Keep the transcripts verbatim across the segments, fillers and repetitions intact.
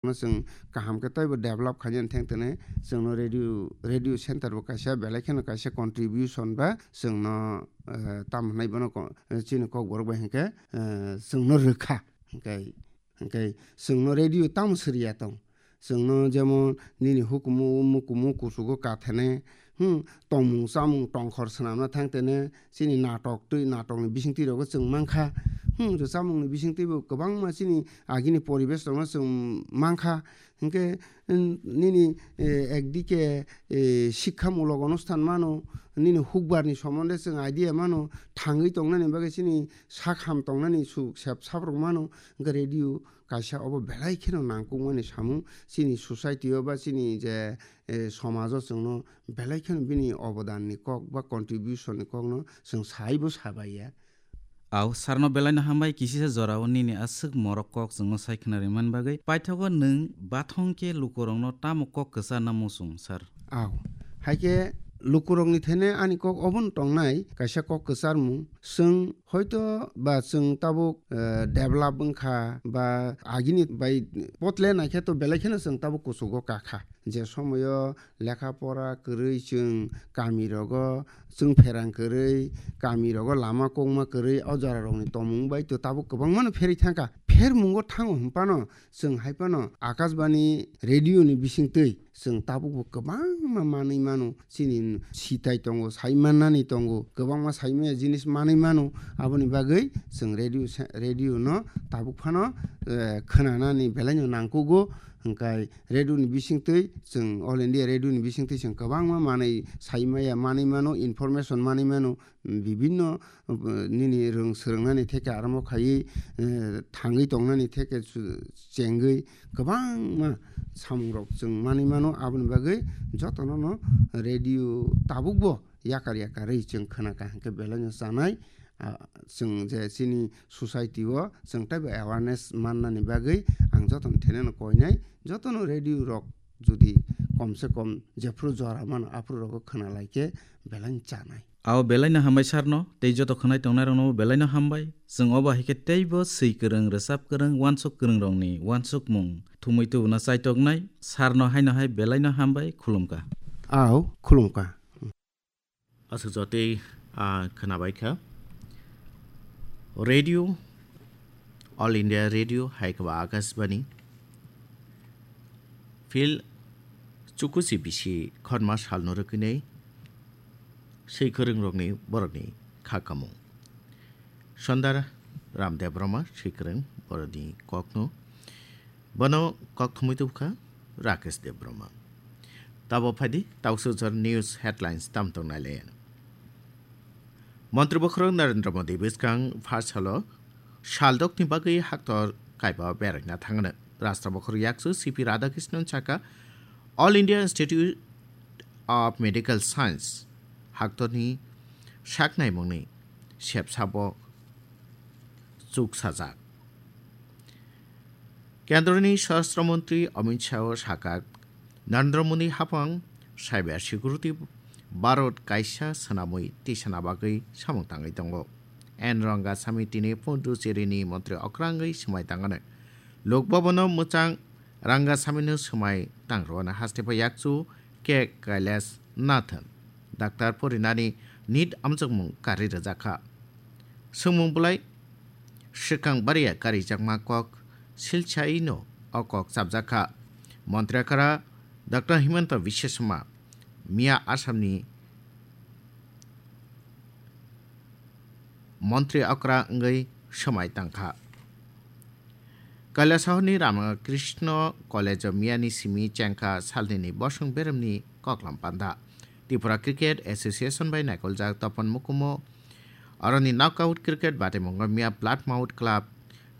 no chwng kaham khe teibo develop khainani thengtene chwngno radio, radio center bo kaisa belai kheno kaisa contribution ba chwngno, eh, tamo hwnai bono ko-, eh, chini kokborok bai hinkhe, eh, chwngno rwkha. Hinkhe, hinkhe chwngno radio tamo siriya tong? Chwngno jemon nini hukumu mukumu kuchugo kathene, hmm, tongmung chamung tongkhor swnamna thangtene, chini natok twi, natokni bisingtwi rogo chwng mankha. Hmm, rwchapmungni bisingtwibo kwbangma chini agini poribesh rokno chwng mankha. Hinkhe, hmm, nini, eh, ekdike, eh, shikhamulok onusthan mano, nini hukbarni somonde chwng idea mano, thangwi tongnani bagwi chini sak ham tongnani su-, sep saprok mano, hinkhe radio kaisa obo belai kheno nangkukmani samung chini society o ba chini je, eh, somajo chwngno belai kheno bini obodanni kok ba contribution ni kokno chwng saibo sabaiya. Au, sarno belaino hambai kisisa jorao nini aswk morok kok chwngno sai khna rimani bagwi. Paithago nwng bathong khe lukurokno tamo kok kwcharna muchung, sir? Au, haikhe lukurokni thene ani kok obono tongnai kaisa kok kwcharmung. Chwng hoito ba chwng tabuk, eh, develop wngkha ba agini bai potle naikhe to belai kheno chwng tabuk kuchugo kakha. Je somoyo lekha pora kwrwi chwng kami rogo chwng pherang kwrwi, kami rogo lama kokma kwrwi, o jora rokni tomung bai to tabuk kwbangmano pherwi thangkha. Phermungo thango hwnphano chwng hai phano Akashbani radio ni bisingtwi chwng tabukbo kwbangma manwi mano, chini sitai tongo, sai mannani tongo, kwbangma sai maya jinis manwi mano. Aboni bagwi chwng radio se-, radio no tabuk phano, eh, khwnanani belaino nangkugo, hwnkhe radio ni bisingtwi chwng All India Radio ni bisingtwi chwng kwbangma manwi sai maya manwi mano, information manwi mano, bibinno, uh, nini rwng swrwngnani theke aramo khaiwi, eh, thangwi tongnani theke chu-, chengwi kwbangma samungrok chwng manwi mano. Aboni bagwi jotono no radio tabukbo yakar yakarwi chwng khwnakha hwnkhe belaino chanai, ah, chwng je chini society o chwng teibo awareness mannani bagwi ang jotono theneno koinai, jotono radio rok jodi komse kom jephru jora mano aphuru rogo khwnalaikhe belaino chanai. Ao belaino hambai sarno, tei joto khwnai tongnairokno belaino hambai. Chwng obo hai khe teibo swi kwrwng, rwchap kwrwng, uansuk kwrwngrokni uansukmung thumwi tubuna chaitoknai sarno haino hai belaino hambai, khulumkha. Ao, khulumkha. Aswk jotwi, ah, khwnabai kha. Radio, All India Radio, hai khe ba Akashbani. Phil chukuchi bisi khorma salno rwgwinai swi kwrwngrokni borokni kha kamung. Sundar Ram Debbarma swi kwrwng borokni kokno. Bono kok thumwi tubukha Rakesh Debbarma. Tabo phaidi Tausujor News Headlines tam tong nai le. Montri bokhorok Narendra Modi bwskang pharsalo saldokni bagwi haktor kaiba beraina thangno. Rashtra bokhorok yakchu C P Radhakrishnan saka All India Institute of Medical Science haktorni saknaimungni sepsabo chuksajak. Kendroni Swarashtra Montri Amit Shah o sakha, Narendra Modi haphang cyber security Bharat kaisa swnamwi tisana bagwi samung tangwi tongo. N Rangasamy tini Puducherry ni montri okra wngwi swmai tangano. Lok Bhavan o mwchang Rangasamy no swmai tangrwano haste pha yakchu K Kailash Nathan. Daktar porinani nit amjokmung kari rwjakha. Swngmung bwlai swkang bariya karijakma kok silchaino o kok chapjakha. Montri okra Doctor Himanta Biswa Sarma miya Assamni montri okra wngwi swmai tangkha. Kailasahorni Ramakrishna College-o miyani simi chengkha salnini bosong beremni koklam panda. Tripura Cricket Association bai naikoljak topon mukumo. Aroni knockout cricket bataimungo miya Bloodmouth Club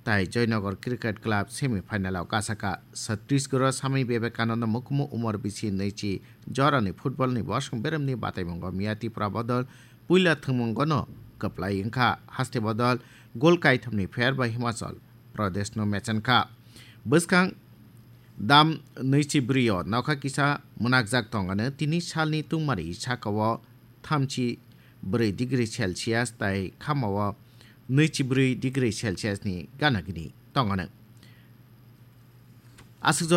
tai Joynagar Cricket Club semi final-o kasaka. Chhattisgarh-o Swami Vivekananda mukumo umor bisi nwichi jorani football-ni bosong beremni bataimungo miya Tripura bodol puila thwngmungono kwplai wngkha. Haste bodol gol kaithamni pher bai Himachal Pradeshno mechenkha. Bwskang dam nwichi bwrwi-o nokha kisa mwnakjak tongano tini salni tungmari saka-o thamchi bwrwi degree Celsius tai khama-o nwichi bwrwi degree Celsius-ni gana gini tongano. Aswk